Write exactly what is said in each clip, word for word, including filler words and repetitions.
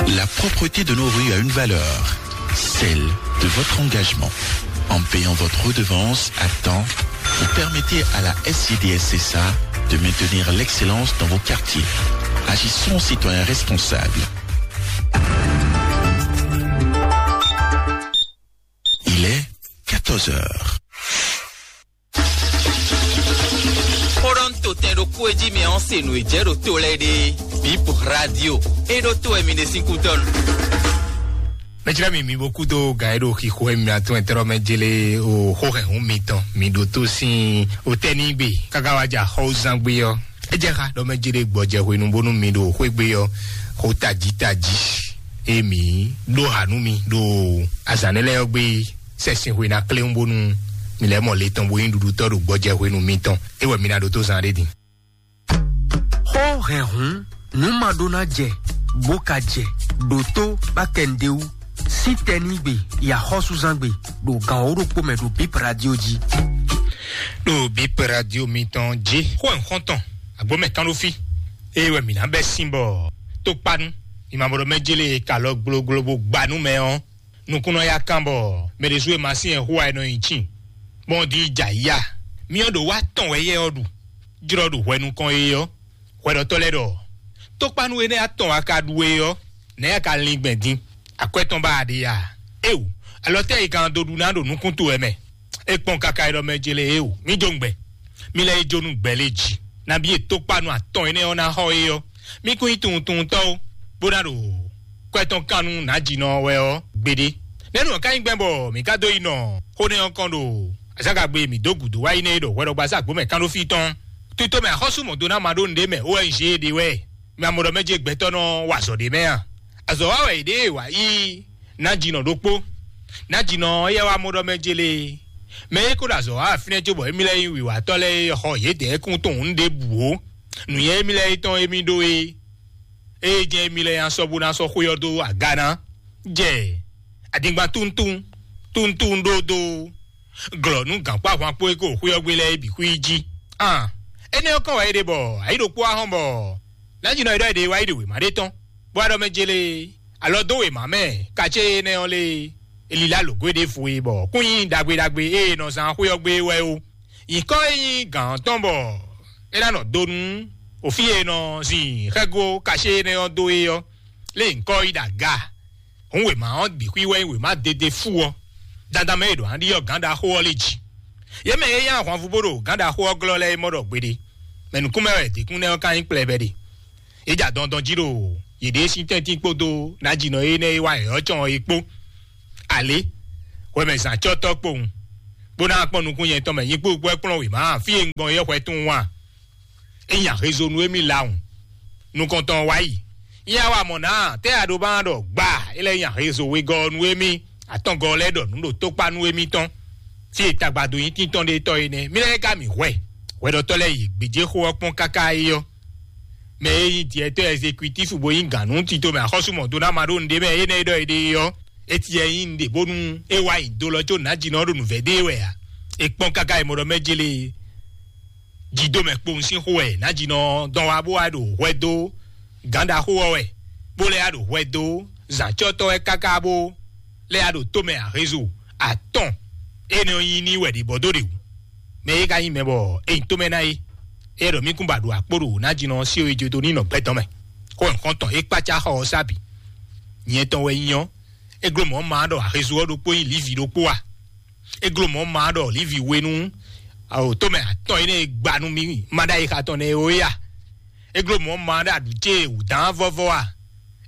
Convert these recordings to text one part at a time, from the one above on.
La propreté de nos rues a une valeur, celle de votre engagement. En payant votre redevance à temps, vous permettez à la S I D S C S A de maintenir l'excellence dans vos quartiers. Agissons en citoyens responsables. Il est quatorze heures. Xó ɖɔ un to tɛn ɖokpó e jí mi ɔ́ se nǔ e jɛ ɖo to lɛ́ɛ ɖe. Bip radio. E ɖo to wɛ mi ɖe sín kútɔ́ nu. Mɛjlá mi mi bo kúdó gǎn e ɖo xixo e mi atún ɛtɛ́rɔ mɛ jélé o xó hɛn hún mitɔn mi ɖo tó sín o tɛ́nígbe káká wá ja xɔwúzán gbé ɔ́. É jɛ xá ɖɔ mɛ jélé gbɔjɛ hwenu bónú mi ɖo xwé gbé ɔ́ xó tají tají e mi ɖó ha nú mi ɖo azǎn nɛ́ lɛ́ɛ ɔ́ gbé sɛ́sin hwe ná kléwún bónú mi lɛ́ mɔ le tɔn bó nyí ɖuɖutɔ́ ɖo gbɔjɛ hwenu mitɔn. É wɛ mi ná ɖótó zán ɖé din. Xó hɛn hǔn nǔ ma ɖó ná jɛ bó ka jɛ ɖo tó bá kɛ nǔɖé wú sín tɛnígbe yi axɔ́súzángbe ɖo gǎn wǒ ɖokpó mɛ ɖo Bip Radio jí. Ɖo Bip Radio mitɔn jí. Xó hɛn xɔ́ntɔn agbǒmɛ kán ɖó fí. Ée wɛ mǐ ná bɛ́ sín bɔ tókpánú mi ma bo ɖɔ mɛ jélé ka lɔ gbloglo bó gba nú mɛ ɔ́, nukúnnɔ ya kán bɔ mɛ ɖésú e ma sín ɛ xú wá e nɔ nyi cín, bɔ un ɖi jɛ ayǐ a? Myɔ ɖo wá tɔn wɛ yɛ ɔ́ ɖu, jlɔ́ ɖo hwɛ nukɔn e ɔ́, hwɛɖɔtɔ́ lɛ́ɛ ɖɔ tókpánú énɛ́ atɔn wá ka ɖu e ɔ́, nɛ̌ a ka lin gbɛn din? Akwɛ́ tɔn ba a ɖe a? Éwu, alɔ tɛ́ e kan dó ɖu ná ɖo nukún towe mɛ? É kpɔ́n káká e ɖɔ mɛ ce lé éwu, mí jó ngbɛ. Mí lɛ́ yi jó nú gbɛ lé jǐ. Nabí e tókpanu atɔn énɛ́ ɔ́ ná xɔ é ɔ́, mí kún nyí tunwuntunwuntɔ́ ó, bó ná ɖo kwɛ́ tɔn kan nú nǎjínɔ ɔ́ wɛ ɔ́ gbeɖé. Nɛ̌ nǔ ɔ́ ka nyí gbɛn bɔ mǐ ka dó yi nɔ xó nɛ́ ɔ́ kɔn ɖo azǎngagbe e mǐ dó gǔdo wá yi nɛ́ é ɖɔ hwɛɖɔgbasá gbǒmɛ kan ɖó fí tɔn? Tito mɛ axɔ́sú mɔ̌ dó ná ma ɖó nǔɖé mɛ ó wɛ un zé e ɖe wɛ. Mi ma mɔ ɖɔ mɛ ce gbɛtɔ́ nɔ wa azɔ̌ ɖé mɛ a? Azɔ̌ wa wɛ yě ɖe wǎ yí nǎjínɔ ɖokpó. Nǎjínɔ ɔ́ yɛ wá mɔ ɖɔ mɛ ce lé. Mɛ e ko ɖo azɔ̌ wa fínɛ́ cóbɔ émí lɛ́ɛ nyí wǐwatɔ́ lɛ́ɛ e xɔ yědɛɛ kún tunwun ɖěbǔ ó. Nǔnywɛ́ émí lɛ́ɛ tɔn émí ɖó é. Ée jɛ́n émí lɛ́ɛ nya sɔ́ bó ná sɔ́ xwé ɔ́ dó aga ná. Jɛ adingban túntún túntún ɖódó glɔ̌ nú gǎnkpá ahwankpó e ko xwé ɔ́ gbé lɛ́ɛ é bǐ xwí jí. An énɛ́ ɔ́ kɔn wɛ é ɖe bɔ ayǐ ɖokpó wá hɔn bɔ nǎjínɔ e ɖɔ é ɖe wá yi ɖe wěma ɖé tɔn, bó wá ɖɔ mɛ jélé alɔ dó wěma mɛ kacé énɛ́ ɔ́ lé. Elila lǒgó e ɖěvo e bɔ kún nyí ɖagbe ɖagbe e è nɔ zán xwé ɔ́ gbé wɛ ó. Nyǐkɔ e nyí gǎn ɔ́ tɔn bɔ é ná nɔ do nú òfí e è nɔ zin xɛ́gó kacé énɛ́ ɔ́ dó é ɔ́, lé nyǐkɔ yi ɖo aga. Hǔn wěma ɔ́ bǐ xwí wɛ nyí wěma dede fú ɔ́. Dandan mɛ e ɖo aɖíyɔ gǎn ɖaxó ɔ́ lé jí. Yě mɛ e nyí ahwanvú bó ɖo gǎn ɖaxó ɔ́ glɔ́ lɛ́ɛ é mɔ ɖɔ gbeɖé. Mɛ nǔkúnmɛ wɛ dǐkúnɖɛ ɔ́ ka nyí kplɛbɛ ɖe. Yě ja dɔndɔn jí ɖo yěɖée sín tɛ́ntin kpódó nǎjínɔ énɛ́ e wá yɛ̌yɔ́ cɔn ɔ́ é kpó. Alě, hwɛmɛ zǎncɔ́tɔ́ kpowun, bó ná kpɔ́n nukún nyɛ tɔn mɛ nyí kpúkpú wɛ kplɔ́n wěma fí e un gbɔn é xwɛ tunwun a? É nya hezo nú émí lawun. Nukɔntɔn wá yi. Nyɛ wá mɔ nǎ, tɛ́ a ɖo ba ɖɔ gba é lɛ́ nya hezo wegɔ́ nú émí, atɔngɔ́ lɛ́ɛ ɖɔ nǔ ɖo tókpá nú émí tɔn. Fí e tagbado nyí tíntɔ́n ɖé tɔ́ é nɛ́. Mí lɛ́ɛ ka mǐ hwɛ. Hwɛɖɔtɔ́ lɛ́ɛ yi gbějé xó ɔ́ kpɔ́n káká é ɔ́. Mɛ e nyí diɛtɔ́ ɛzekuitífu bó nyí gǎn nú tito mɛ axɔ́sú mɔ̌ dó ná ma ɖó nǔɖé mɛ énɛ́ e ɖɔ éɖée ɔ́, é tiɛ nyí nǔɖé bónú é wá nyi do lɔ có nǎjínɔ ɔ́ ɖo nǔvɛ́ ɖe wɛ ǎ. È kpɔ́n káká e mɔ ɖɔ mɛ jélé jǐdomɛ kpowun sín xó wɛ nǎjínɔ ɔ́ dɔn wá bó wá ɖo hwɛ dó gǎn ɖaxó ɔ́ wɛ, bó lɛ́ wá ɖo hwɛ dó zǎncɔ́tɔ́ wɛ káká bó lɛ́ wá ɖo tómɛ ahezo atɔn énɛ́ ɔ́ nyí n'i wɛ ɖě bɔ dó ɖe wǔ. Mɛ e ka nyí mɛ bɔ é nyí tómɛ ná é. É ɖɔ mí kún ba ɖo akpó ɖo nǎjínɔ ɔ́ sí é jó dó ní nɔ gbɛtɔ́ mɛ. Xó nyɔ̌xɔ́ntɔn é kpácá xɔ ɔ́ sá bǐ. Nyɛ tɔn wɛ nyí ɔ́, é gló mɔ̌ ma ɖɔ ahezo ɔ́ ɖokpó nyí Livi ɖokpó a? É gló mɔ̌ ma ɖɔ Livi we nú awo tómɛ atɔn énɛ́ e gba nú mì ma ɖ'ayǐ xa tɔn nɛ́ é ó é a? É gló mɔ̌ ma ɖɔ aɖǔ ce wǔdán vɔ́vɔ́ a?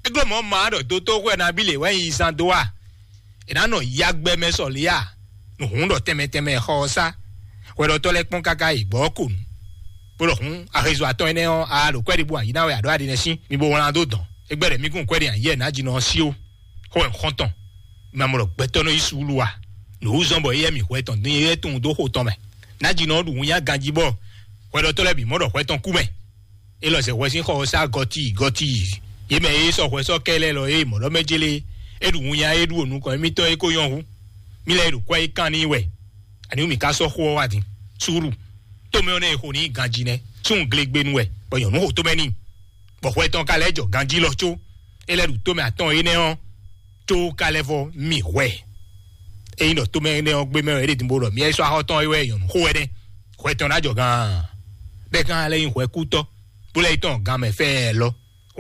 É gló mɔ̌ ma ɖɔ dotóxwɛ nabí lě wɛ nyi zan dó a? È nǎ nɔ yagbɛ mɛ sɔ lě a? Nǔhún ɖɔ tɛnmɛ tɛnmɛ xɔ ɔ́ sá. Hwɛɖɔtɔ́ lɛ́ɛ kpɔ́n káká yi gbɔ̌ ko nǔ. Bó ɖɔ hǔn ahezo atɔn énɛ́ ɔ́, a ɖo kwɛ́ɖibú ayǐ ná wɛ a ɖǒ aɖi nɛ́ sín. Mi bo wlán dó dɔn. É gbɛ́ ɖɔ mí kún kwɛ́ɖi ayǐ yɛ nǎjínɔ ɔ́ sí ó. Xó wɛ xɔ́ntɔn. Mi ma mɔ ɖɔ gbɛtɔ́ nɔ yí suúlu a? Nǔ wú zɔ́n bɔ éyɛ́ mì hwɛ tɔn dín é tunwun dó xo tɔn mɛ. Nǎjínɔ ɔ́ ɖu winnyá ganjí bɔ hwɛɖɔtɔ́ lɛ́ɛ bǐ mɔ ɖɔ hwɛ tɔn kú mɛ. É lɔ zɛ hwɛ sín xɔ ɔ́ sá gɔti gɔti. Yě mɛ e sɔ hwɛ sɔ́ kɛ lɛ́ɛ lɔ é mɔ̌ ɖɔ mɛ jélé é ɖu winnyá é ɖu nukɔn émítɔn é ko nyɔ́ hú. Mí lɛ́ é ɖo kwɛ́ é kan n'i wɛ. Ani mì ka sɔ́ xó ɔ́ wá din? Súúlu. Tómɛ ɔ́ nɛ́ e xo n'i ganjí nɛ́. Súnnu glegbenu wɛ, bɔ nyɔ̌nu xo tómɛ n'i. Bɔ hwɛ tɔn ka lɛ́ jɔ ganjí lɔ có. é lɛ́ ɖu tomɛ atɔn énɛ́ ɔ́, tó ka lɛ́ vɔ mi hwɛ. Ényí ɖɔ tomɛ énɛ́ ɔ́ gbé mɛ wɛ é ɖe din bó ɖɔ mi yɛ sɔ́ axɔ́ tɔn é wɛ nyɔ̌nu xó wɛ nɛ́, hwɛ tɔn ná jɔ gán. Bɛ́ gán lɛ́ nyí hwɛkútɔ́, bó lɛ́ yi tɔn gán mɛ fɛ́ɛ lɔ.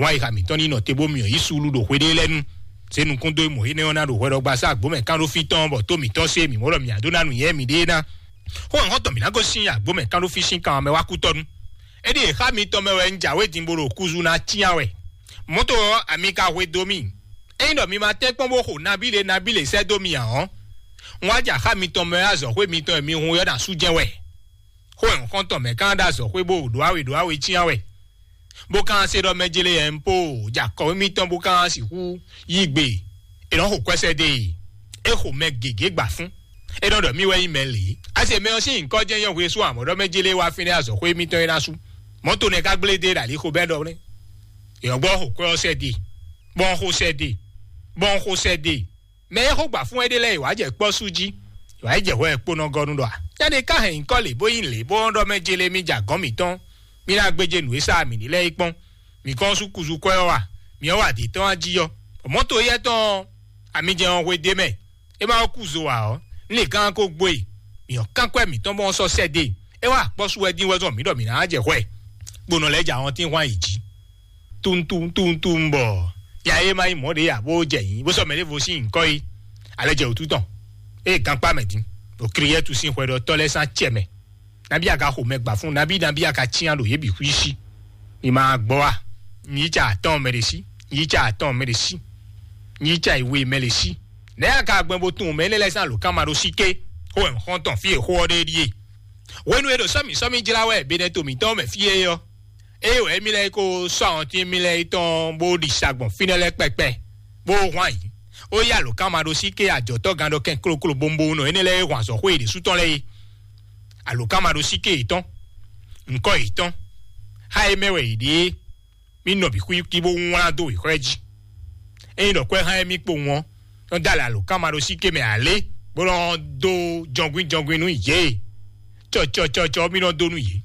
Wǎn yixa mǐtɔn ní nɔ te bó myɔ yí suúlu ɖo hweɖée lɛ́ɛ nu. Zé nukún dó mɔ̌ énɛ́ ɔ́ ná ɖo hwɛ ɖɔgba sá gbǒmɛ kán ɖó fí tɔn bɔ tó mǐtɔn sé mǐ mɔ ɖɔ mǐ ná dó ná nǔnywɛ́ mǐɖée ná. Xó nǔxɔ́tɔn mǐ ná gosín agbǒmɛ kán ɖó fí sín kan mɛ wá kú tɔ́ nu. É ɖíe xá mitɔn mɛ wɛ un jǎwe din bó ɖo kúzu ná cyán wɛ. Mɔ̌to ɔ́, ami ka hwe dó mì. Ényí ɖɔ mi ma tɛ́nkpɔ́n bó xo nabí ɖé nabí lě sɛ́ dó mi ǎ ɔ́, un wá jɛ axá mitɔn mɛ wɛ azɔ̌xwé mitɔn e mi hun ɔ́ ná sú jɛ́n wɛ. Xó e nǔxɔ́ntɔn mɛ kán ɖo azɔ̌xwé bó ɖó awe ɖó awe cyán wɛ, bó kán se ɖɔ mɛ jele yɛ un po ja kɔwé mitɔn bó kán sixú yí gbe. È nɔ xo kwɛ́sɛ́ dó e é xo mɛ gěgé gbǎ fún. É nɔ ɖɔ mì wɛ nyí mɛ lě. Asi mɛ ɔ́ sín nyǐkɔ jɛ́n nyɔ́ hwesú amɔ̌ ɖɔ mɛ jele wá fínɛ́ azɔ̌xwé mitɔn é ná sú. Mɔ̌ to nɛ́ ka gblé dó e ɖo ali xo bɛ́ ɖɔ nɛ́. È nɔ gbɔ xo kwɛ́ ɔ́ sɛ́ dó e. Bɔn xo sɛ́ dó e. Bɔn xo sɛ́ dó e. Mɛ e xó gbǎ fún wɛ ɖé lɛ́ɛ yi wǎ jɛ kpɔ́ sú jí, yi wǎ yi jɛ hwɛ kponɔgɔnu ɖɔ a? Nyɛ ɖé ka hɛn nyǐkɔ lě bó nyí lě bó ɖɔ mɛ jele mì jɛ agɔ̌n mǐtɔn, mì ná gbéjé nǔ e sa mǐ ní lɛ́ɛ yi kpɔ́n. Mǐ kɔn sú kuzu kwɛ́ ɔ́ a? Mǐ ɔ́ wa dě tɔn a jí ɔ́? Mɔ̌ to éyɛ́ tɔn ɔ́, ami jɛ ɔ́ hwe d'é mɛ. É ma wá kú zo ǎ ɔ́, un lě gán ko gbo e. Mǐ ɔ́ kán kwɛ́ mǐtɔn bɔ sɔ́ sɛ́ dó e. É wá akpɔ́ sú wɛ dín wɛ zɔn mǐ ɖɔ mǐ ná jɛ hwɛ. Gbonɔ lɛ́ɛ jɛ ahɔntín hwan yi jí. Tuntum tuntum bɔ ya e ma nyí mɔ̌ ɖě ya bó jɛ nyǐ bó sɔ́ mɛ ɖěvo sín nyǐkɔ yi. Alɛ jɛ wǔtu tɔn. Ée gankpá mɛ din, ɖo Kliyɛ́tu sín hwɛɖɔtɔ́ lɛ́ɛ sín acɛ mɛ. Nabí a ka xo mɛ gba fún, nabí nabí a ka cyán ɖo yě bǐ xwíí sí. Mi ma gbɔ a? Nyí ca atɔn mɛ ɖe sí, nyí ca atɔn mɛ ɖe sí, nyí ca ìwe mɛ ɖe sí. Nɛ̌ a ka gbɛn bó tunwun mɛ énɛ́ lɛ́ɛ sín alǒkanmaɖósíké? Xó wɛ un xɔ́n tɔn fí e xó ɔ́ ɖe ɖíe. Hwenu e ɖo sɔ́mǐ sɔ́mǐ jlá wɛ Benɛto mǐtɔn mɛ fí é ɔ́, ée wɛ émí lɛ́ɛ yi ko sɔ́ awɔntín émí lɛ́ɛ yi tɔn bó ɖi sa gbɔn fínɛ́ lɛ́ɛ kpɛkpɛ, bó hwan yǐ. Ó yí alǒkanmaɖósíké ajɔ̌tɔ́gán ɖɔ kɛn kloklo bombowunɔ énɛ́ lɛ́ɛ e hwan azɔ̌xwé yěɖésú tɔn lɛ́ɛ é. Alǒkanmaɖósíké yětɔn, ŋkɔ́ yětɔn, xá e mɛ wɛ yě ɖe é, mí nɔ bǐ xwíxwí bó wlán dó wěxɔ́ jí. Ényí ɖɔ kwɛ́ xá émí kpowun ɔ́, nɔ dó alɛ alǒkanmaɖósíké mɛ alé, bó nɔ dó jɔngbín jɔngbín nú yě. Cɔcɔcɔcɔ mí nɔ dó nú yě.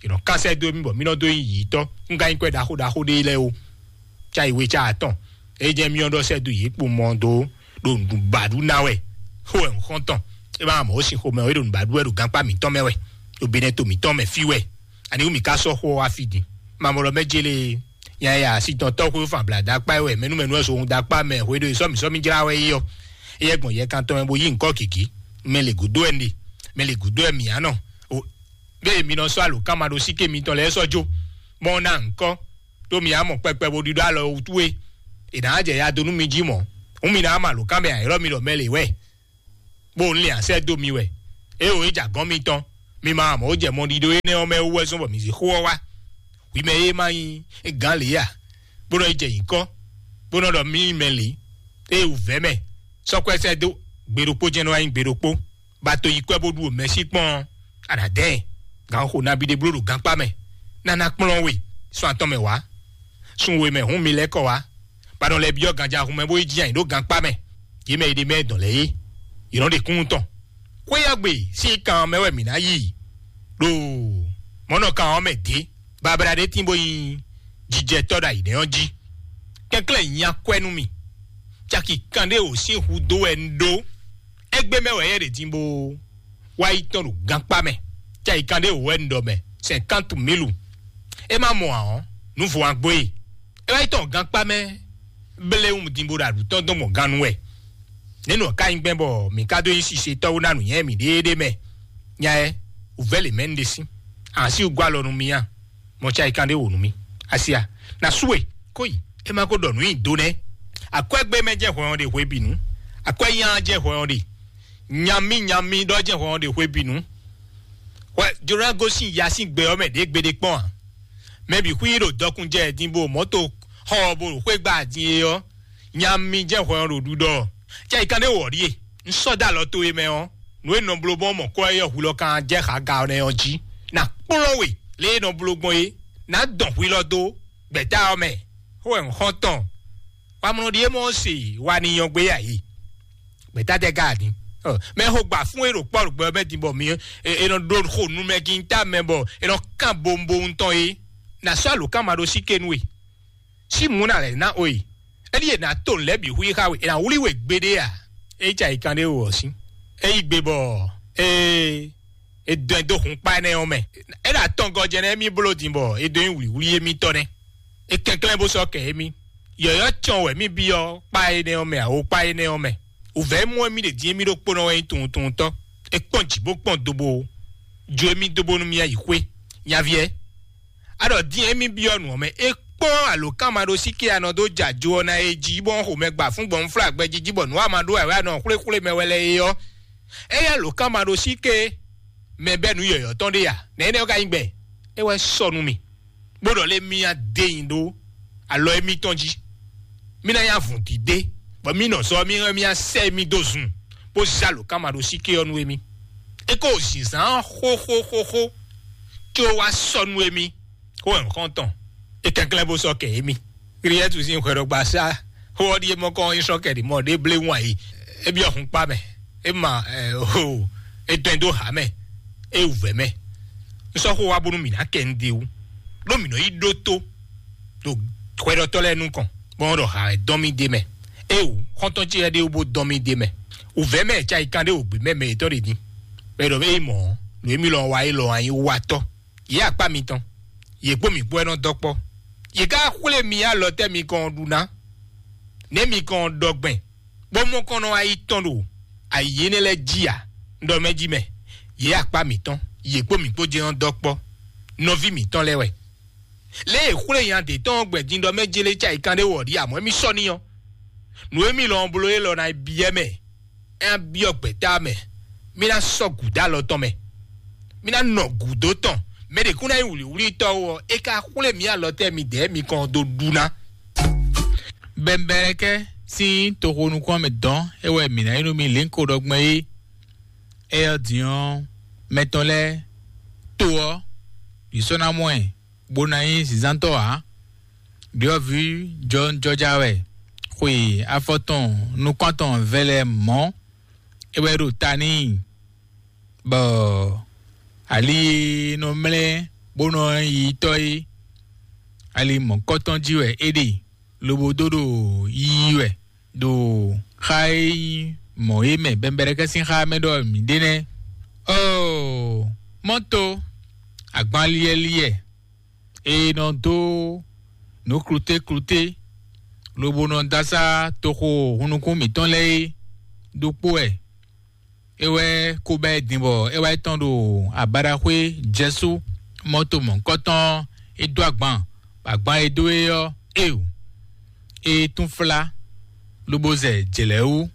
È nɔ kán sɛ́ dó mì bɔ mí nɔ dó nyí yǐtɔ́. Un ka nyí kwɛ́ ɖaxó ɖaxó ɖé lɛ́ɛ ó. Cá yi we cá atɔn. É jẹ́ mí ɔ́ ɖɔ sɛ́ dó yě kpo mɔ dó ɖo nǔbaɖú ná wɛ. Xó wɛ un xɔ́n tɔn. É ma mɔ ó sin xomɛ ó, é ɖo nǔbaɖú wɛ ɖo gankpá mǐtɔn mɛ wɛ. Ɖo Benɛto mǐtɔn mɛ fí wɛ. Ani wú mǐ ka sɔ́ xó ɔ́ wá fí din? Mamɔlɔ mɛ jélé. Yaya sitɔntɔ́ xwé fan bla dakpá wɛ mɛnú mɛnú ɛ so hun dakpá mɛ hwe ɖo sɔ́mǐ sɔ́mǐ jlá wɛ é ɔ́. Éyɛ́ gbɔn yɛ kan tɔn mɛ bo yí ŋkɔ́ gěgé. Mɛ lě gúdo ɛ nɖe, mɛ lě gúdo ɛ mǐ á nɔ. Bẹ́ẹ̀ mi nɔ sɔ́ alǒkanmaɖósíké mitɔn lɛ́ɛ sɔ́ jó, bɔ un ná ŋkɔ́, ɖó mi á mɔ kpɛkpɛ bó ɖiɖɔ alɔ wútu é. È nǎ jɛ ya dó nú mi jí mɔ̌. Hǔn mi ná mɔ alǒkan mɛ ayɔ́ mi ɖɔ mɛ lě wɛ, bó un lin asɛ dó mi wɛ. Éeǒ, é jɛ agɔ̌n mitɔn, mi ma mɔ ó jɛ mɔɖiɖo énɛ́ ɔ́ mɛ wú wɛ zɔ́n bɔ mi zě xó ɔ́ wá. Hwi mɛ e ma nyí gǎn lě a, bó nɔ yi jɛ nyǐkɔ, bó nɔ ɖɔ mí nyí mɛ lě, ée wǔvɛ́ mɛ, sɔ́ kwɛ́ sɛ́ dó gbe ɖokpó jɛ́n nɔ wá nyí gbe ɖokpó. Ba to yi kwɛ́ bó ɖu mɛ sí kpɔ́n ɔ́, a nǎ dɛn ɛ. Gǎn xo nabí ɖé bló ɖo gankpá mɛ, nana kplɔ́n we sɔ́ atɔn mɛ wǎ. Sun we mɛ hǔn mi lɛ́ kɔ wá, ba nɔ lɛ́ byɔ́ ganjahun mɛ bó yi jí ayǐ ɖó gankpá mɛ. Yě mɛ e ɖe mɛ dɔn lɛ́ɛ é, yě nɔ ɖe kúnnu tɔn. Xwéyɔ́gbe sín kan mɛ wɛ mǐ ná yi ɖo mɔ̌nɔkan ɔ́ mɛ dě. Babla ɖé tín bó nyí jijɛtɔ́ ɖo ayǐ nɛ́ ɔ́ jí. Kɛnklɛ́n nya kwɛ́ nú mì. Caki kanɖé wǒ sín hu dó wɛ un ɖó. Égbé mɛ wɛ é ɖe din bó wá yi tɔn ɖo gankpá mɛ. Caki kanɖé wǒ wɛ un ɖɔ mɛ, sɛnkánt mílu. É má mɔ ǎ ɔ́, nǔ vo agbo e. É wá yi tɔn gankpá mɛ, bléwún din bó ɖo aɖǔ tɔn dɔn gbɔn gannú wɛ. Nɛ̌ nɔ ká nyí gbɛn bɔ mǐ ka dó nyí sisetɔ́ wú ná nǔnywɛ́ mǐɖée ɖé mɛ? Nya ɛ, wǔvɛ́ lě mɛ un ɖe sín. Asi wú gɔ́ alɔ nú mì a? Mɔ ca yi kan ɖé wǒ nú mì. Asi a, na sú we, kó yi, é ma ko ɖɔ nǔ nyi do nɛ́. Akwɛ́gbé mɛ jɛ hwɛ ɔ́ ɖe hwebǐnu. Akwɛ́ nya jɛ hwɛ ɔ́ ɖe. Nyamí nyamí ɖɔ jɛ hwɛ ɔ́ ɖe hwebǐnu. Hwɛ jló ná gosín ya sín gbɛ ɔ́ mɛ ɖě gbeɖé kpɔ́n ǎ. Mɛ bǐ xwí ɖo dɔkun jɛ din bó mɔ̌to xɔ ɔ́ bó ɖo xwé gba din é ɔ́, nya mi jɛ hwɛ ɔ́ ɖo ɖuɖɔ. Cɛ yi kan ɖé wɔ ɖíe. Un sɔ́ dó alɔ towe mɛ ɔ́, nǔ e nɔ bló bɔn mɔ kɔ e yɔ hu lɔ kan jɛ xaga ɔ́ nɛ́ ɔ́ jí. Na kplɔ́n we lě e nɔ bló gbɔn é, nǎ dɔn hwi lɔ dó gbɛ̌ta ɔ́ mɛ. Xó wɛ un xɔ́n tɔn. Wamlɔ ɖíe mɔ se wa ni nyɔgbe ya yi. Gbɛta tɛ ka din? Mɛ xo gba fún e ɖo kpɔ́ ɖo gbɛ mɛ din bɔ mi e nɔ ɖo xo nu mɛ gin ta mɛ bɔ e nɔ kan bombo ŋutɔn e. Na sɔ́ alo kan ma ɖo sí ke nú e. Sí mǔ na lɛ ná o e. Éɖíe è nǎ to nǔ lɛ́ɛ bǐ hu yi xá we, è nǎ wlí we gbeɖé a? É yi ca yi kan ɖé wǒ ɔ́ sín. É yi gbe bɔ é é dɔn ɛ dó hun kpá énɛ́ ɔ́ mɛ. É ɖo atɔngɔ́ jɛ nɛ́ émí bló din bɔ é dó nyí wlǐwlí émítɔ́ nɛ́. É kɛnklɛ́n bó sɔ́ kɛ émí. Yɔ̌yɔ́ cɔn wɛ mí byɔ́ kpá énɛ́ ɔ́ mɛ, awo kpá énɛ́ ɔ́ mɛ. Wǔvɛ́ mɔ émí ɖě din émí ɖokpónɔ wɛ nyí tunwuntunwuntɔ́. É kpɔ́n jǐ bó kpɔ́n dobo jó émí dó bónú mì yi xwé. Nyaví ɛ, a ɖɔ dín émí byɔ́ nǔ ɔ́ mɛ, é kpɔ́n alǒkanmaɖósíké anɔ dó jɛ ajo ɔ́ ná é jí, bɔ xomɛ gba fún gbɔn fúnflá gbɛjiji bɔ nǔ a ma ɖó wɛ wɛ a nɔ xwléxwlé mɛ wɛ lɛ́ɛ é ɔ́, é yɛ alǒkanmaɖósíké mɛ bɛ́ nǔ yɔ̌yɔ́ tɔn ɖé a? Nɛ̌ énɛ́ ɔ́ ka nyí gbɛn? É wɛ sɔ nú mì, bó ɖɔ lé mì á dé nyi ɖó alɔ émítɔn jí. Mí ná nyí avǔndídé, bɔ mí nɔ zɔ mí hɛn mí á sɛ mí dó zun, bó zé alǒkanmaɖósíké ɔ́ nú émí. É kó zinzán xóxóxóxó, có wá sɔ nú émí. Xó wɛ un xɔ́n tɔn. É kɛnklɛ́n bó sɔ́ kɛ émí. Kliyɛ́tu sín hwɛɖɔgbasá xó ɔ́ ɖíe mɔ kɔn nyí sɔ́ kɛɖi mɔ ɖé blé wún ayǐ. É byɔ́ hun kpá mɛ. É ma ho é dɔn dó hǎ mɛ. É wǔvɛ́ mɛ. Un sɔ́ xó wá bónú mǐ ná kɛ nú ɖé wú. Ɖó mǐ nɔ yí ɖótó ɖo hwɛɖɔtɔ́ lɛ́ɛ nukɔn, bɔ wọ́n ɖɔ ha wɛ dɔn mì d'é mɛ. Éeǒ, xɔ́ntɔn ce lɛ́ɛ ɖé wú bó dɔn mì d'é mɛ. Wǔvɛ́ mɛ cayíkan ɖé wǒ gbé mɛ mɛ yětɔn ɖě din. Bɔ é ɖɔ é mɔ̌, nǔ e mì lɔ wa é lɔ wá nyí watɔ́. Yě akpá mitɔn, yě kpó mǐ kpó wɛ nɔ dɔ́ kpɔ́. Yě ká xwlé mi alɔ tɛ́ mi kɔn ɖu ná, nɛ̌ mi kɔn ɖɔ gbɛn, bó mɔ kɔn nɔ wá yi tɔn ɖo ayǐ énɛ́ lɛ́ɛ jí ǎ? Un ɖɔ mɛ jí mɛ, yě akpá mǐtɔn, yě kpó mǐ kpó jɛ́n ɔ́ dɔ́ kpɔ́, nɔví mǐtɔn lɛ́ɛ wɛ. Lě e xwlé nya d'é tɔn ɔ́ gbɛn din ɖɔ mɛ jélé cayíkan ɖé wɔ ɖi amɔ̌ émí sɔ́ n'i ɔ́, nǔ e mì lɔn bló élɔ́ ná byɔ́ mɛ, é ná byɔ́ gbɛ̌ta mɛ, mí ná sɔ́ gǔdo alɔ tɔn mɛ, mí ná nɔ gǔdo tɔn. Mɛ ɖě kún ná nyí wlǐwlítɔ́ ó ɔ́, é ka xwlé mǐ alɔ tɛ́ midɛɛ mi kɔn dó ɖu ná. Bɛnbɛlɛkɛ sín toxo nukún mɛ dɔn é wɛ mǐ ná nyí nú mi lěnko ɖɔ gbɛn é. Éyɔ́ din ɔ́, mɛ tɔn lɛ́ɛ to ɔ́, yě sɔ́ ná mɔ ɛ, bó ná nyí zǐnzántɔ́ ǎ. Ɖyɔ̌vǐ jɔnjɔja wɛ, xwe afɔ tɔn nukɔn tɔn vɛlɛ mɔ̌, é wɛ ɖo ta n'i, bɔ ali e nɔ mlɛ́ bó nɔ yi tɔ́ é, ali mɔ̌kɔtɔn jí wɛ é ɖe, lobo dó ɖo yiyi wɛ ɖo xá e nyí mɔ̌ é mɛ, bɛnbɛrɛkɛ sín xá mɛ ɖɔ mǐ ɖe nɛ́. Ɔ́ɔ, mɔ́to agbanliɛ́liɛ e nɔ dó nǔ klutékluté, lobo nɔ dó asá toxo hunnukún mǐtɔn lɛ́ɛ é ɖokpó wɛ. É wɛ ko bɛ́ din bɔ é wá yi tɔn ɖo abaɖaxwé jɛsú mɔto mɔ̌kɔtɔn, é dó agban, bɔ agban e dó é ɔ́, éeǒ, é tún flá, lobo zɛ jlɛ̌ wú.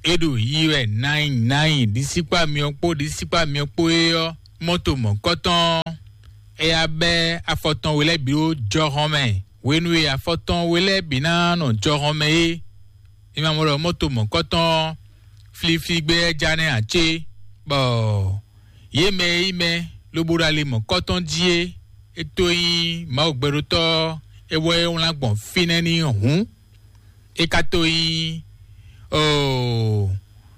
É ɖo yiyi wɛ nǎnyi nǎnyi ɖisíkpá myɔ kpó ɖisíkpá myɔ kpó é ɔ́, mɔto mɔ̌kɔtɔn, é yá bɛ́ afɔ tɔn we lɛ́ɛ bǐ ɖó jɔhɔn mɛ. Hwenu e afɔ tɔn we lɛ́ɛ bǐ ná nɔ jɔhɔn mɛ é, mi ma mɔ ɖɔ mɔto mɔ̌kɔtɔn flíflí gbé wɛ ja nɛ́ ǎ cé? Bɔ yě mɛ e nyí mɛ lobo ɖo ali mɔ̌kɔtɔn jí é, é tó nyí Mawu gbɛɖótɔ́, é wɛ é wlán gbɔn fínɛ́ n'i hǔn, é ka tó nyí oo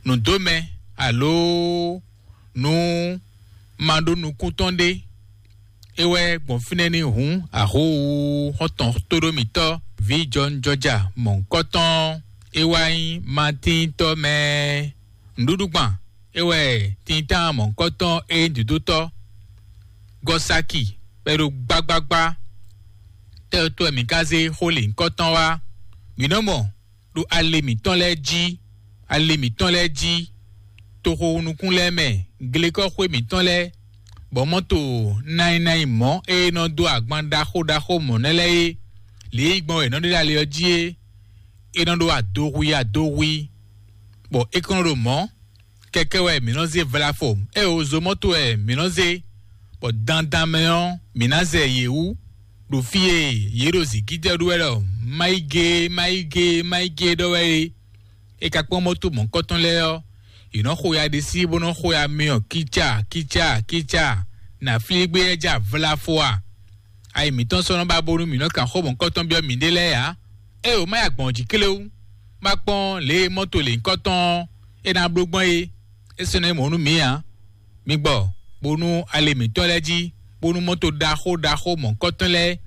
nǔdómɛ alo nǔ ma ɖó nukún tɔn ɖé. É wɛ gbɔn fínɛ́ ní hǔn ahówu xɔ́ntɔn tóɖómítɔ́, vǐ jɔnjɔja mɔ̌hunkɔtɔn, é wá nyí Matíntɔ́ mɛ. Nǔɖuɖugban, é wɛ tintan mɔ̌hunkɔtɔn é nyí dǒdótɔ́. Gɔsaki, bɔ é ɖo gbagbagba. Tɛ́ ɔ́ tó wɛ mǐ ka zé xó lǐnkɔtɔn wá? Mǐ nɔ mɔ ɖo ali mǐtɔn lɛ́ɛ jí, ali mǐtɔn lɛ́ɛ jí, toxo nukún lɛ́ɛ mɛ, glekɔ́xwé mǐtɔn lɛ́ɛ, bɔ mɔ́to nayinayi mɔ̌ e nɔ dó agban ɖaxó ɖaxó mɔ̌ nɛ́ lɛ́ɛ é, lě e gbɔn è nɔ ɖe ɖo ali ɔ́ jí é, é nɔ ɖó adohwi adohwi, bɔ é kɔn nɔ ɖo mɔ̌. Kɛkɛ wɛ mǐ nɔ zé vlafo, é o zo mɔ́to wɛ mǐ nɔ zé, bɔ dandan mɛ ɔ́, mǐ ná zɛ yě wú, ɖo fí e yě ɖo zǐngídɛ́ ɖu wɛ ɖɔ má yi gé, má yi gé, má yi gé ɖɔ wɛ é. É ka kpɔ́n mɔ́to mɔ̌kɔtɔn lɛ́ɛ ɔ́, yě nɔ xo ya ɖisí bó nɔ xo ya myɔ kíca kíca kíca. Nǎ flí gbé yɛ ja vlafo a? Ayi mǐtɔn sɔ́ nɔ ba bónú mǐ nɔ kan xó mɔ̌kɔtɔn byɔ́ mǐɖée lɛ́ɛ ǎ. Ée wǒ má ya gbɔn jǐ kléwú, má kpɔ́n lě e mɔ́to lěhunkɔtɔn ɔ́ é ná bló gbɔn é, é sɔ́ ná nyí mɔ̌ nú mǐ ǎ. Mi gbɔ, bónú ali mǐtɔn lɛ́ɛ jí, bónú mɔ́to ɖaxó ɖaxó mɔ̌kɔtɔn lɛ́ɛ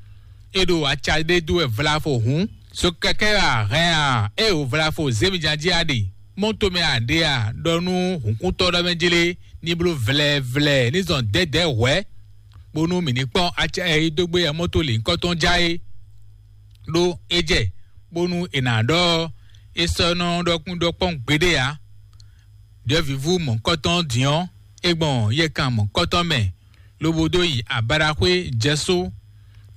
e ɖo aca ɖé dó wɛ vlavo hǔn, So kɛkɛ a hɛn a? Ée wò vlafo zé mi jan jí a ɖe, mɔto mɛ a ɖe a? Ɖɔ nú hǔnkúntɔ́ ɖɔ mɛ jlé ní bló vlɛvlɛ ní zɔn dɛ̌dɛ̌ hwɛ̌, bónú mǐ ní kpɔ́n acɛ e dó gbé yɛ mɔto lǐnkɔ́tɔn já é. Ɖó é jɛ bónú è nǎ ɖɔ é sɔ́ nɔ ɖɔkun ɖɔkpɔ́n gbeɖé ǎ. Ɖyɔ̌vǐvú mɔ̌hunkɔtɔn din ɔ́, é gbɔn yɛkan mɔ̌hunkɔtɔn mɛ, lobo dó yi abaɖaxwé jɛ só.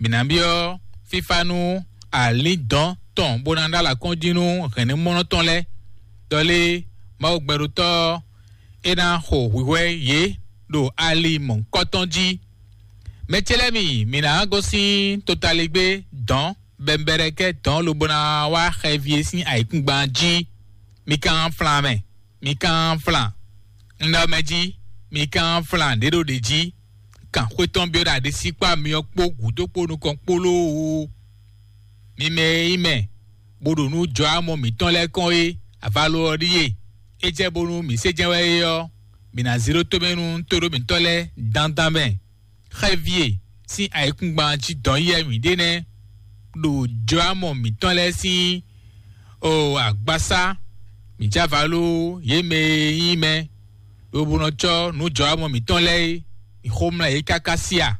Mǐ ná byɔ́ fífá nú alǐndɔ̌n tɔn bó ná ɖó alakɔ́njí nú hɛ̌nnumɔnɔ tɔn lɛ́ɛ. Ɖɔ lé, Mawu gbɛɖótɔ́ ɔ́, é ná xo hwǐhwɛ́ yě ɖo ali mɔ̌hunkɔtɔn jí. Mɛ ce lɛ́ɛ mi, mǐ ná gosín totaligbé dɔ̌n bɛnbɛɖɛkɛ́ dɔ̌n lobo ná wá xɛví e sín ayǐkúngban jí. Mi ka nɔ flan mɛ, mi ka nɔ flan. Un ɖɔ mɛ jí, mi ka nɔ flan ɖě ɖo ɖě jí. Kan xwé tɔn byɔ́ ɖo aɖisí kpó amyɔ kpó gǔdo kpó nukɔn kpó lóo. Mi mɛ e nyí mɛ, bó ɖo nú jɔ amɔ mǐtɔn lɛ́ɛ kɔn é, avalo ɔ́ ɖíe. É jɛ bónú mǐ sé jɛ́n wɛ é ɔ́, mǐ ná zé ɖó tomɛ nú tóɖó mǐtɔn lɛ́ɛ dandan mɛ. Xɛ́ví e sín ayǐkúngban jí dɔn yɛ mǐ ɖe nɛ́, ɖo jɔámɔ mǐtɔn lɛ́ɛ sín o agbasá. Mǐ jɛ avalo yě mɛ e nyí mɛ, lobo nɔ cɔ́ nǔ jɔámɔ mǐtɔn lɛ́ɛ é, mǐ xomlá yě káká sí a?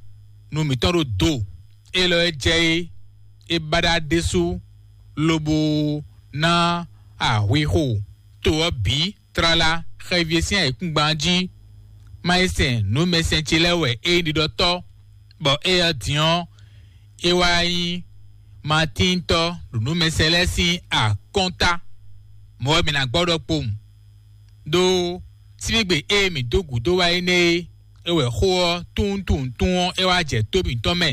Nu mǐtɔn ɖo do élɔ́ e jɛ é, é ba ɖa ɖésú, lobo ná ahwixo to ɔ́ bǐ tlala xɛví e sín ayǐkúngban jí. Má yi sɛn nǔmɛsɛn ce lɛ́ɛ wɛ é nyí ɖiɖɔtɔ́, bɔ éyɛ́ din ɔ́, é wá nyí matíntɔ́ ɖo nǔmɛsɛn lɛ́ɛ sín akɔ́nta. Mɔ̌ wɛ mǐ ná gbɔ ɖɔkpowun, ɖó síbígbe e mǐ dó gǔdo wá énɛ́ é, é wɛ xó ɔ́ tunwuntunwuntunwun ɔ́ é wá jɛ tó mǐtɔn mɛ.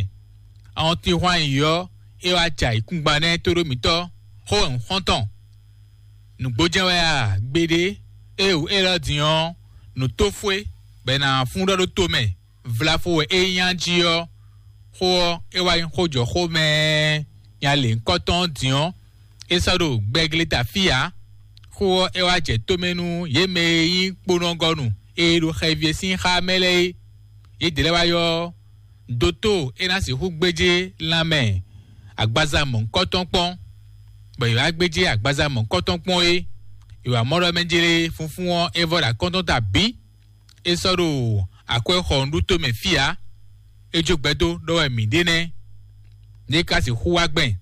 Awɔntinhwan yǐyɔ́ é wá jɛ ayǐkúngban nɛ́ tóɖó mǐtɔn, xó wɛ un xɔ́n tɔn. Nǔgbó jɛ́n wɛ a? Gbeɖé, éeǒ élɔ́ din ɔ́, nǔ tó fó é, bɔ è nǎ fún ɖɔ ɖó tomɛ. Vlafo wɛ é nyí jí ɔ́, xó ɔ́, é wá nyí xó jɔ xó mɛ nya lěhunkɔtɔn ɔ́ din ɔ́, é sɔ́ ɖo gbɛgleta fí ǎ. Xó ɔ́, é wá jɛ tomɛ nú yě mɛ e nyí kponɔgɔnu e ɖo xɛví e sín xá mɛ lɛ́ɛ é. Yědɛɛ lɛ́ɛ wá ylɔ́ doto e ná sixú gbéjé lanmɛ agbaza mɔ̌hunkɔtɔn kpɔ́n, bɔ è wǎ gbéjé agbaza mɔ̌hunkɔtɔn kpɔ́n é. È wǎ mɔ ɖɔ mɛ jlé funfún ɔ́ é vɔ ɖo akɔ́ntɔn ta bǐ. É sɔ́ ɖo akwɛ́ xɔ nǔɖuto mɛ fí ǎ. É jó gbɛdó ɖɔ wɛ mǐ ɖe nɛ́. Ní é ka sixú wá gbɛn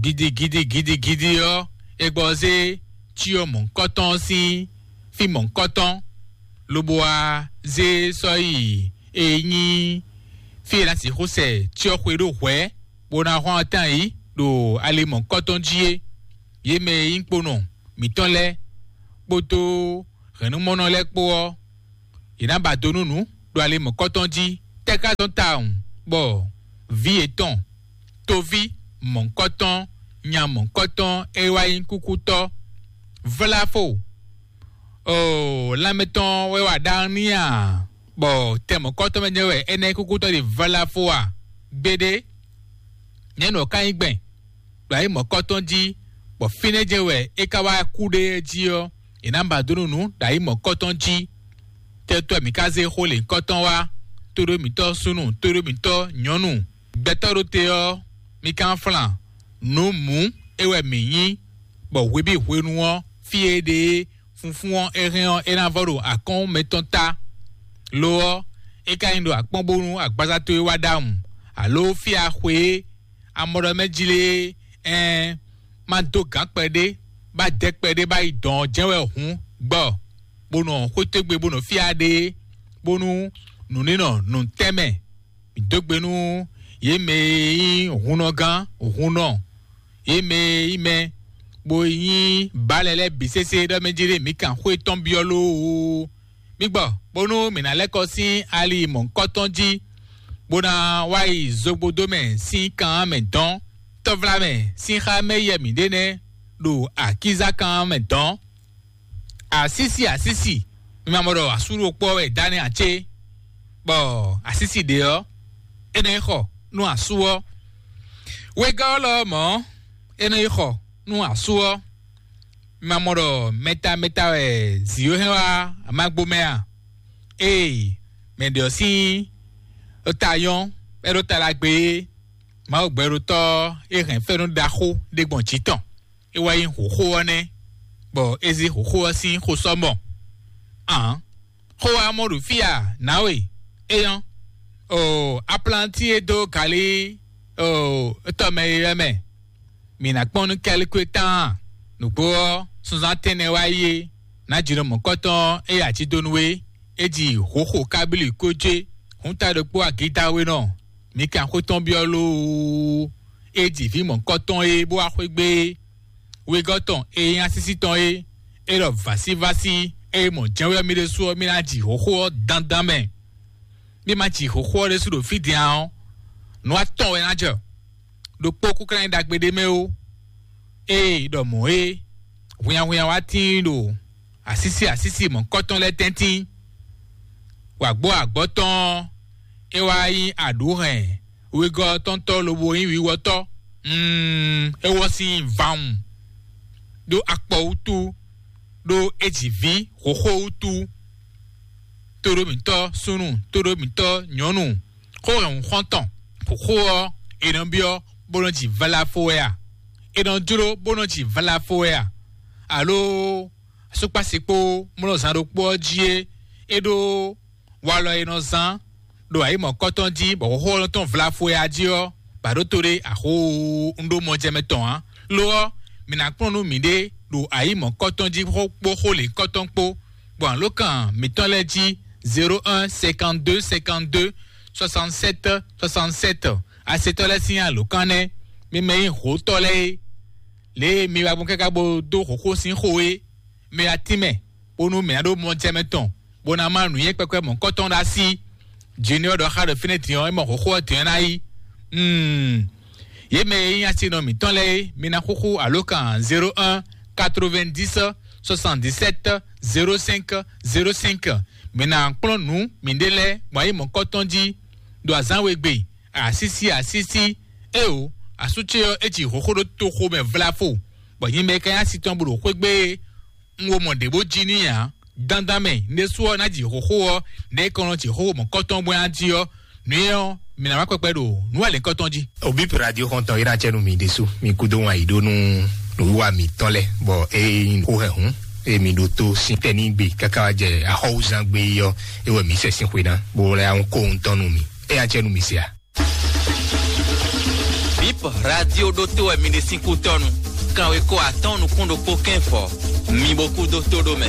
gidigidi gidigidi ɔ́, é gbɔ zé cyɔ mɔ̌hunkɔtɔn ɔ́ sín fí mɔ̌hunkɔtɔn, lobo wá zé sɔ́ yi e nyí fí e è nǎ sixú sɛ cyɔ́xwe ɖó hwɛ̌, bó ná hɔn atán yǐ ɖo ali mɔ̌hunkɔtɔn jí é. Yě mɛ e nyí kponɔ mǐtɔn lɛ́ɛ kpódó hɛ̌nnumɔnɔ lɛ́ɛ kpó ɔ́, yě ná ba do nú nǔ ɖo ali mɔ̌kɔtɔn jí. Tɛ́ ka dɔn tawun bɔ vǐ yětɔn, toví mɔ̌kɔtɔn, nya mɔ̌kɔtɔn e wá nyí kúkútɔ́, vláfo, oo, lanmɛ tɔn wɛ wa ɖaxó n'i a? Bɔ tɛ mɔ̌kɔtɔn mɛ jɛ́n wɛ énɛ́ kúkútɔ́ ɖe vláfo a? Gbeɖé, nɛ̌ nɔ ká nyí gbɛn? Ɖo ayǐ mɔ̌kɔtɔn jí, bɔ fínɛ́ jɛ́n wɛ é ka wá kú ɖe jí ɔ́, è nǎ ba dó nú nǔ ɖo ayǐ mɔ̌kɔtɔn jí. Tɛ́tɔ́ mǐ ka zé xó lěhunkɔtɔn wá, tóɖó mǐtɔn súnnu, tóɖó mǐtɔn nyɔ̌nu? Gbɛtɔ́ ɖo te ɔ́, mi ka nɔ flan nǔ mǔ é wɛ mǐ nyí, bɔ hwebǐ hwenu ɔ́, fí e é ɖe é, funfún ɔ́, é hɛn ɔ́, é ná vɔ ɖo akɔ́n mɛtɔn ta. Lo ɔ́, é ka nyí ɖo akpɔ́n bónú agbaza towe wá ɖ'awun, aló fí a xwe é, a mɔ ɖɔ mɛ jlé é, ɛɛn, má dó gǎn kpɛɖé, bá dɛ kpɛɖé bá yi dɔn ɔ́ jɛ́n wɛ hǔn gbɔ, bó nɔ xwétégbe bó nɔ fí a ɖe é, bónú nǔ ní nɔ nǔ tɛ́ mɛ. Mǐ dó gbe nú yě mɛ e nyí hunnɔgán, hunnɔ, yě mɛ e nyí mɛ, bó nyí bǎlɛ lɛ́ɛ bǐ sésé ɖɔ mɛ jí ɖé mǐ kan xwé tɔn byɔ́ lóoo. Mǐ gbɔ, bónú mǐ ná lɛ́ kɔ sín ali mɔ̌hunkɔtɔn jí, bó ná wá yi zogbodó mɛ sín kan mɛ dɔn, tɔ́vlá mɛ sín xá mɛ yɛ mǐ ɖe nɛ́ ɖo akízá kan mɛ dɔn. Asísi, asísi, mi ma mɔ ɖɔ asú ɖokpó ɔ́ wɛ Daniel ce, bɔ asísi ɖě ɔ́, é nɔ yi xɔ nú asú ɔ́. Wegɔ́ ɔ́ lɔ mɔ̌, é nɔ yi xɔ nú asú ɔ́. Mi ma mɔ ɖɔ mɛta mɛta wɛ zǐ ɔ́ hɛn wá amagbo mɛ a? Ee, mɛ ɖě ɔ́ sín ta nyɔ́, é ɖó ta ɖagbe é. Mawu gbɛɖotɔ́ e hɛn fɛ́nú ɖaxó ɖé gbɔn jǐ tɔn, é wá nyí hǒxo ɔ́ nɛ́, bɔ é zé hǒxo ɔ́ sín xó sɔ́ mɔ. Ǎn, xó wá mɔ ɖo fí a, nǎwe? É nyɔ́. Oo, aplanti e dó galí, oo, tɔmɛ e lɛ́ɛ mɛ. Mǐ ná kpɔ́n nú kɛ́likwe tán. Nǔgbó ɔ́, sunzán tɛ́nnɛ wá yi é, nǎjínɔ mɔ̌kɔtɔn e ají dó nú é, é ji hǒxo kábílì kó jé, hǔn ta ɖokpó agídáwénɔ. Mǐ kan xó tɔn byɔ́ lóó. É ji vǐ mɔ̌kɔtɔn e bó wá xwé gbé é. Wegɔ́ tɔn e nyí asísí tɔn é, é ɖɔ vǎsívásí e mɔ jɛ́nwé ɔ́ mì ɖésú ɔ́, mì ná ji hǒxo ɔ́ dandan mɛ. Mì ma ji hǒxo ɔ́ ɖésú ɖo fí din ǎ ɔ́, nǔ atɔn wɛ ná jɛ. Ɖokpó kúnklán nyí ɖagbe ɖé mɛ ó. Ée ɖɔ mɔ̌ é, hwinnyahwinnya wá tíin ɖo asísí asísí mɔ̌kɔtɔn lɛ́ɛ tɛ́ntin. Wǎgbɔ́ agbɔ́ tɔn ɔ́, é wá nyí aɖǔhɛn wegɔ́ tɔntɔ́ lobo nyí wiwɔtɔ́. Mm, é wɔ sín vawun ɖó akpɔ wútu, ɖó é ji vǐ xoxó wútu. Tóɖómítɔ́ súnnu, tóɖómítɔ́ nyɔ̌nu, xó hɛn xɔ́ntɔn, xoxó ɔ́, è nɔ byɔ́ bó nɔ ji vlafo wɛ a? È nɔ jló bó nɔ ji vlafo wɛ a? Alo asúkpásikpó mlɔ́zán ɖokpó ɔ́ jí é, é ɖó walɔ e nɔ zán ɖo ayǐmɔ̌kɔ́tɔn jí, bɔ xóxó ɔ́ nɔ tɔn vlafo wɛ a jí ɔ́, bǎ ɖó to ɖé axó un ɖó mɔjɛmɛ tɔn ǎ. Lo ɔ́, mǐ ná kplɔ́n nú mǐɖée ɖo ayǐmɔ̌kɔ́tɔn jí kpó xó lěkɔ́tɔn kpó, gbɔn alǒkan mǐtɔn lɛ́ɛ jí: zéro un cinquante-deux cinquante-deux soixante-sept soixante-sept. Asetɔ́ lɛ́ɛ sín alǒkan nɛ́, mi mɛ nyí hǒtɔ́ lɛ́ɛ é. Lě e mi wá gbɔn káká bó dó xǒxó sín xo é, mi wá tínmɛ, bónú mǐ ná ɖó mɔjɛmɛ tɔn, bó ná má nǔnywɛ́ kpɛkpɛ mɔ̌kɔ́tɔn ɖo así. Junior ɖɔ xá ɖo fínɛ́ din ɔ́, é mɔ xǒxó ɔ́ din ɔ́ ná yí. Hmm. Yě mɛ e nyí asinɔ mǐtɔn lɛ́ɛ é, mi ná xúxú alǒkan zéro un quatre-vingt-dix soixante-dix-sept zéro cinq zéro cinq. Mi ná kplɔ́n nǔ miɖée lɛ́ɛ gbɔn ayǐ mɔ̌kɔ́tɔn jí ɖo azǎn we gbe, asísí asísí. Éeǒ, asú ce ɔ́, é ji hǒxó ɖó toxo mɛ vlafo, bɔ nyɛ mɛ ka nyí asi tɔn bó ɖo xwé gbe é. Un wo mɔ ɖě bó jí n'i ǎ. Dandan mɛ, un ɖésú ɔ́ ná ji hǒxó ɔ́, nɛ̌ kɔn nɔ ji xó mɔ̌kɔ́tɔn bó ná jí ɔ́, nǔ énɛ́ ɔ́, mǐ ná wá kpɛkpɛ ɖo nǔ alěkɔ́tɔn jí. Obip radio xɔntɔn yi ɖacɛ nu mi ɖésú, mi kúdó wan yi ɖó nú nǔwiwa mǐtɔn lɛ, bɔ eye nyí xó hɛn hǔn, eye mi ɖo tó sín tɛ́ ní gbe káká wá jɛ axɔ́wúzán gbe yi ɔ́, é wɛ mǐ sɛ sín xwe ná, bó lɛ́ ahún kó ohun tɔn nú mi. É acɛ nú mi se a? Bip radio ɖótó wɛ mi ɖe sín kútɔ́nu. Kanweko atɔ́ɔ́n nukún ɖokpó kɛ́n fɔ. Mi bo kú dó tó ɖó mɛ.